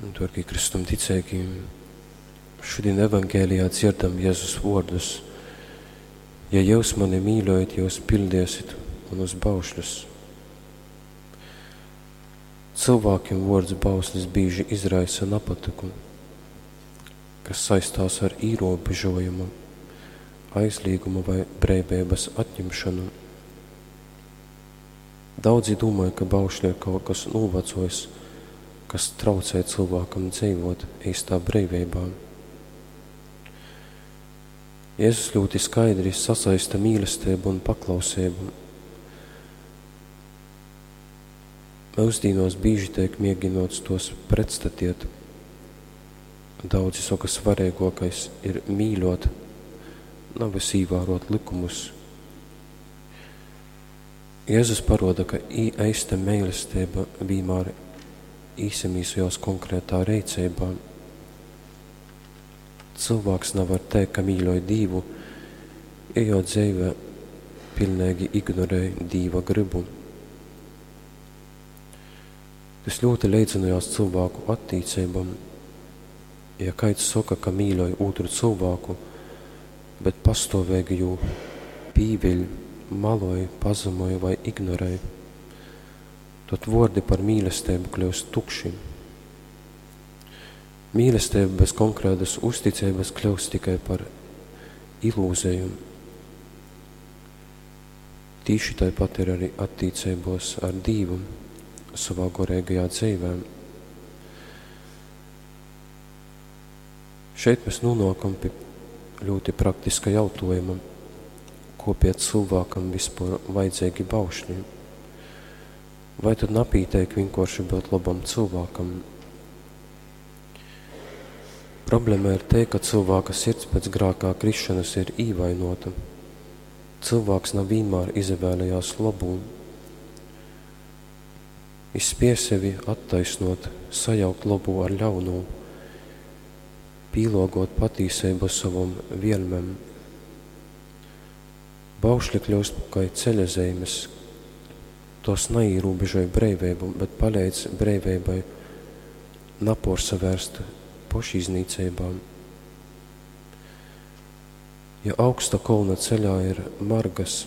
Dārgie Kristum ticīgi, šodien evangelijā dzirdam Jēzus vārdus. Ja jūs mani mīļojat, jūs pildiesit manus baušļus. Cilvēkiem vārds bauslis bieži izraisa napatiku, kas saistās ar ierobežojumu, aizliegumu vai brīvības atņemšanu. Daudzi domāja, ka baušļi ir kaut kas novecojis, kas traucē cilvēkam dzīvot īstā brīvībā. Jēzus ļoti skaidri sasaista mīlestību un paklausību. Mūsdienos bieži tiek mēģinots tos pretstatiet. Daudzi saka, svarīgākais ir mīļot, nevis ievērot likumus. Jēzus paroda, ka īsta mīlestība vienmēr īsamīsojās konkrētā reicībā. Cilvēks nevar teikt, ka mīļoja Dievu, ja jo dzīve pilnīgi ignorē Dieva gribu. Tas ļoti leidzinājās cilvēku attīcībam. Ja kāds saka, ka mīļoja otru cilvēku, bet pastāvīgi jū pīviļ, maloja, pazemoja vai ignorēja, tad vārdi par mīlestību kļūst tukši. Mīlestība bez konkrētas uzticības kļūst tikai par ilūziju. Tīši tāpat ir arī attiecībos ar Dievu savā gorīgajā dzīvē. Šeit mēs nonākam pie ļoti praktiska jautājuma, ko pie cilvēkam vispār vajadzīgi baušļi. Vai tad napīteik vienkārši būt labam cilvēkam? Problēma ir te, ka cilvēka sirds pēc grākā krišanas ir īvainota. Cilvēks nav vienmēr izvēlējās labu. Viņš spēj sevi attaisnot, sajaukt labu ar ļaunu, pīlogot patīsību savam vielmēm. Baušļi kļūst kā ceļazīmes, tos neierobežoja brīvību, bet palīdz brīvībai naporsavērst pašiznīcībām. Ja augsta kolna ceļā ir margas,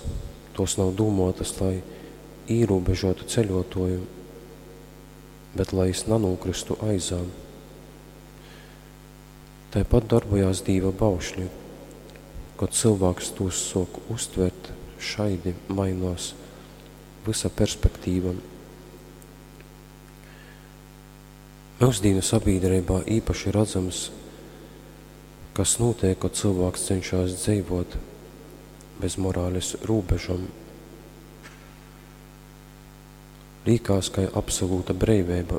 tos nav domātas, lai ierobežotu ceļotoju, bet lai es nenokristu aizām. Tāpat darbojās Dieva baušļi, kad cilvēks tos sok uztvert šaidi mainās visa perspektīva. Mūsdienu sabiedrībā īpaši redzams, kas notiek, kad cilvēks cenšas dzīvot bez morāles robežām. Līkās, ka ir absolūta brīvība,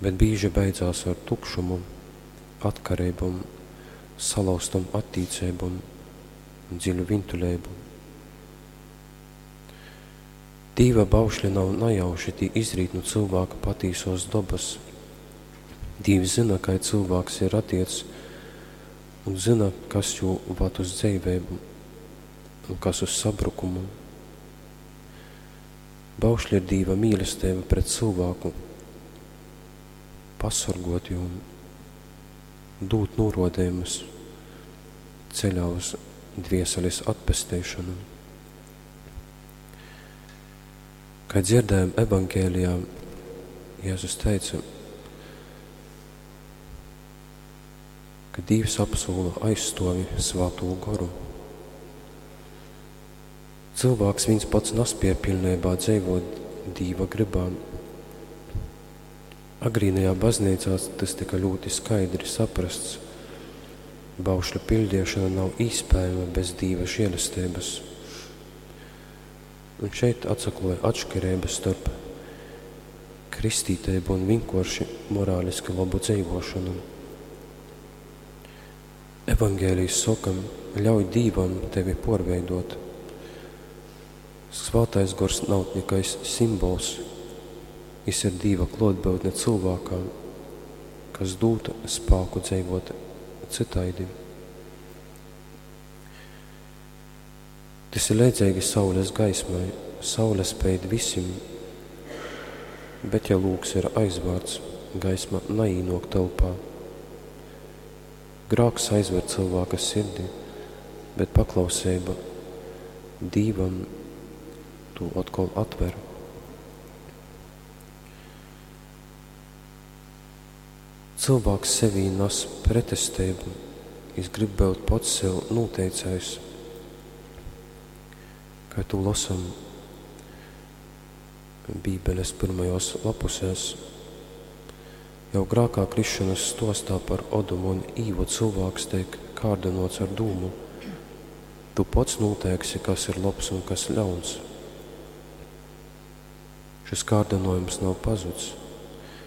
bet bieži beidzās ar tukšumu, atkarībām, salauztam attīcībām un dziļu vientuļību. Dīva baušļi nav nejauši, tī izrīt no cilvēka patīsos dabas. Dīvs zina, kā cilvēks ir radiets, un zina, kas jū vad uz dzīvību un kas uz sabrukumu. Baušļi ir Dīva mīlestība pret cilvēku, pasargot jū, dūt norodējumus ceļā uz dvieseles atpesteišanu. Kā dzirdējām evangēlijā, Jēzus teica, ka Dievs apsola aizstovi svēto goru. Cilvēks viens pats nespēja pilnībā dzīvot Dieva gribā. Agrīnajā baznīcā tas tika ļoti skaidri saprasts. Baušļu pildīšana nav iespējama bez Dieva žēlestības. Un šeit atsakloja atšķirības starp kristītību un vienkārši morāliski labu dzīvošanu. Evangēlijs saka, ļauj Dievam tevi porveidot. Svētais gors nav tikai simbols, jis ir Dieva klātbūtne cilvēkā, kas dūta spēku dzīvot citaidi. Tas ir līdzīgi saules gaismai. Saule speid visiem, bet ja lūks ir aizvārds, gaisma naīnōk telpā. Grāks aizver cylvāka sirdi, bet paklauseiba Dīvam tū otkol atver. Cylvāks sevī nas pretesteibu, jis grib byut pats sev nūteicējs. Kai tū losam Bībeles pyrmajos lapusēs. Jau grākā krišanas stostā par Odumu un Īvu cylvāks teik kārdynōts ar dūmu: Tu pats nūteiksi, kas ir lobs un kas ļauns. Šys kārdynōjums nav pazuds.